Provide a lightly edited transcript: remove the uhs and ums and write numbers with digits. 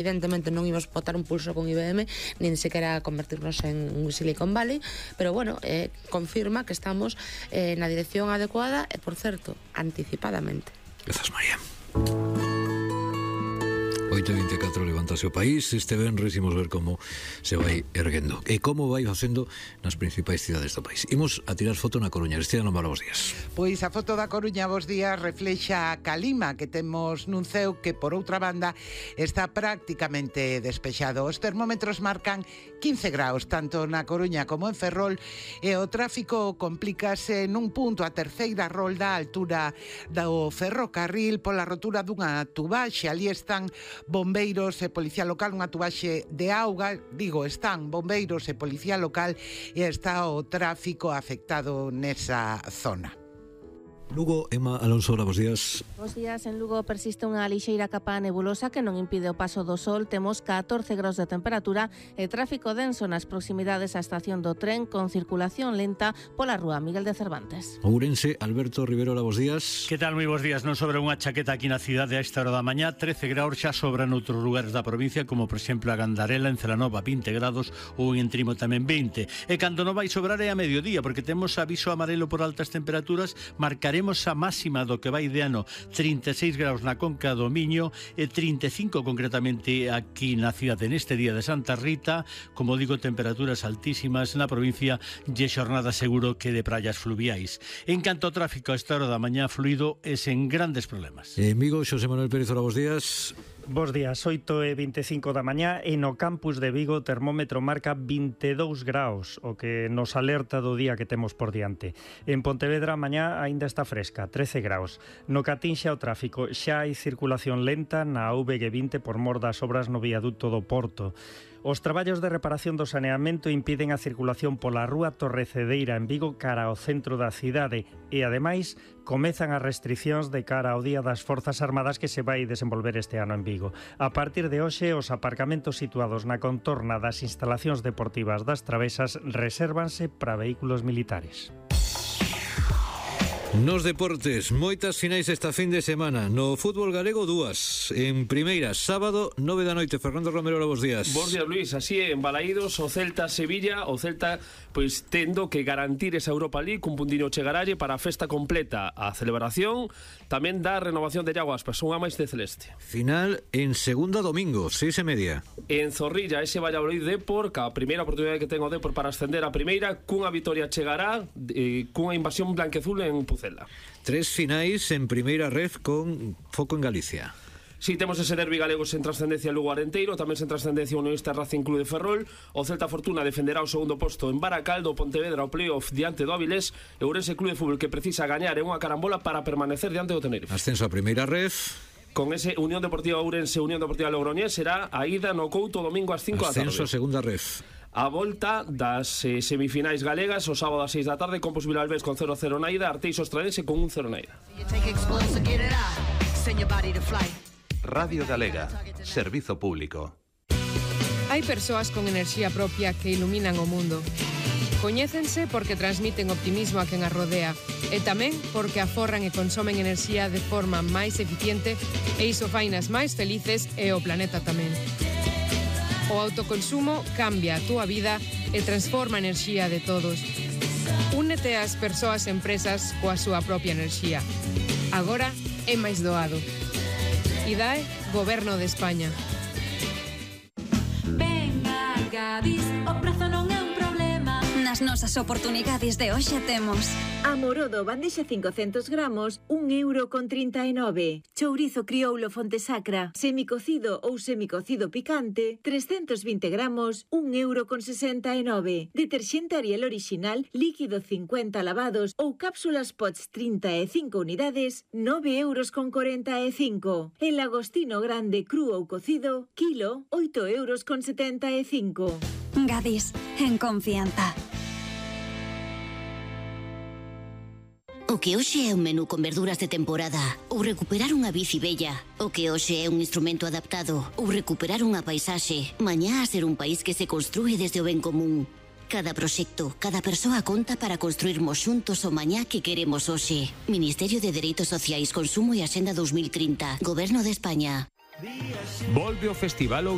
Evidentemente non íbamos botar un pulso con IBM, nin sequera convertirnos en un Silicon Valley, pero bueno, confirma que estamos na dirección adecuada e, por certo, anticipadamente. Grazas, María. 8:24 levántase o país. Este venres imos ver como se vai erguendo e como vai facendo nas principais cidades do país. Imos a tirar foto na Coruña. Cristina Lombard, bos días. Pois a foto da Coruña, bos días, reflexa a calima que temos nun ceo que, por outra banda, está prácticamente despexado. Os termómetros marcan 15 graus, tanto na Coruña como en Ferrol, e o tráfico complícase nun punto, a terceira rolda, a altura do ferrocarril, pola rotura dunha tubaxe. Ali están bombeiros e policía local, unha tubaxe de auga, están bombeiros e policía local, e está o tráfico afectado nesa zona. Lugo, Emma Alonso, bos días. Bos días. En Lugo persiste unha lixeira capa nebulosa que non impide o paso do sol. Temos 14 graus de temperatura e tráfico denso nas proximidades á estación do tren, con circulación lenta pola rúa Miguel de Cervantes. Ourense, Alberto Rivero, bos días. Que tal? Moi bos días. Non sobra unha chaqueta aquí na cidade a esta hora da mañá. 13 graus xa sobran outros lugares da provincia, como por exemplo a Gandarela, en Celanova 20 grados, ou en Entrimo tamén 20. E cando non vai sobrar é a mediodía, porque temos aviso amarelo por altas temperaturas. Marcaremos a máxima do que vai de ano, 36 graus na Conca do Miño e 35 concretamente aquí na cidade neste día de Santa Rita. Como digo, temperaturas altísimas na provincia e xornada seguro que de praias fluviais. En canto ao tráfico, a esta hora da mañá fluido e sen grandes problemas. En Vigo, Xosé Manuel Pérez, bos días. Bos días, 8:25 da mañá e no campus de Vigo o termómetro marca 22 graus, o que nos alerta do día que temos por diante. En Pontevedra a mañá aínda está fresca, 13 graus. No que atinxe ao tráfico, xa hai circulación lenta na VG20 por mor das obras no viaduto do Porto. Os traballos de reparación do saneamento impiden a circulación pola rúa Torrecedeira en Vigo cara ao centro da cidade e, ademais, comezan as restricións de cara ao Día das Forzas Armadas que se vai desenvolver este ano en Vigo. A partir de hoxe, os aparcamentos situados na contorna das instalacións deportivas das Travesas resérvanse para vehículos militares. Nos deportes, moitas finais esta fin de semana. No fútbol galego, dúas. En primeira, sábado, 9 da noite. Fernando Romero, bos días. Bos días, Luís. Así é, en Balaídos, o Celta-Sevilla. O Celta, pois, tendo que garantir esa Europa League, cun puntiño chegaralle para a festa completa. A celebración tamén da renovación de Iago Aspas, unha máis de celeste. Final en segunda domingo, 6:30. En Zorrilla, ese Valladolid Depor, que a primeira oportunidade que ten o Depor para ascender a primeira, cunha vitoria chegará, cunha invasión blanqueazul en Pucela. 3 finais en primeira ref con foco en Galicia. Si, temos ese derbi galego sen trascendencia Lugo Arenteiro, tamén sen trascendencia o Unionista Racing Club de Ferrol. O Celta Fortuna defenderá o segundo posto en Baracaldo, Pontevedra o playoff diante do Avilés e o Ourense Club de Fútbol que precisa gañar en unha carambola para permanecer diante do Tenerife. Ascenso a primeira ref. Con ese Unión Deportiva Ourense, Unión Deportiva Logroñés será a ida no Couto domingo ás 5 da tarde. Ascenso a segunda ref. A volta das semifinais galegas o sábado ás 6 da tarde, Compos Vilalbés con 0-0 na ida, Arteixo Estradense con 1-0 na ida. Radio Galega, servizo público. Hai persoas con enerxía propia que iluminan o mundo. Coñécense porque transmiten optimismo a quen as rodea e tamén porque aforran e consomen enerxía de forma máis eficiente e iso fainas máis felices e o planeta tamén. O autoconsumo cambia a túa vida e transforma a enerxía de todos. Únete ás persoas e empresas coa súa propia enerxía. Agora é máis doado. IDAE, Goberno de España. Venga, Gadis, o prazo non é un problema. Nas nosas oportunidades de hoxe temos Amorodo, bandexa 500 gramos, 1,39 €. Chourizo crioulo Fontesacra, semicocido ou semicocido picante, 320 gramos, 1,69 €. Deterxente Ariel original, líquido 50 lavados ou cápsulas Pots 35 unidades, 9,45 €. El agostino grande cru ou cocido, kilo, 8,75 €. Gadis, en confianza. O que hoxe é un menú con verduras de temporada ou recuperar unha bici bella. O que hoxe é un instrumento adaptado ou recuperar unha paisaxe. Mañá a ser un país que se construe desde o ben común. Cada proxecto, cada persoa conta para construirmos xuntos o mañá que queremos hoxe. Ministerio de Dereitos Sociais, Consumo e Axenda 2030. Goberno de España. Volve o Festival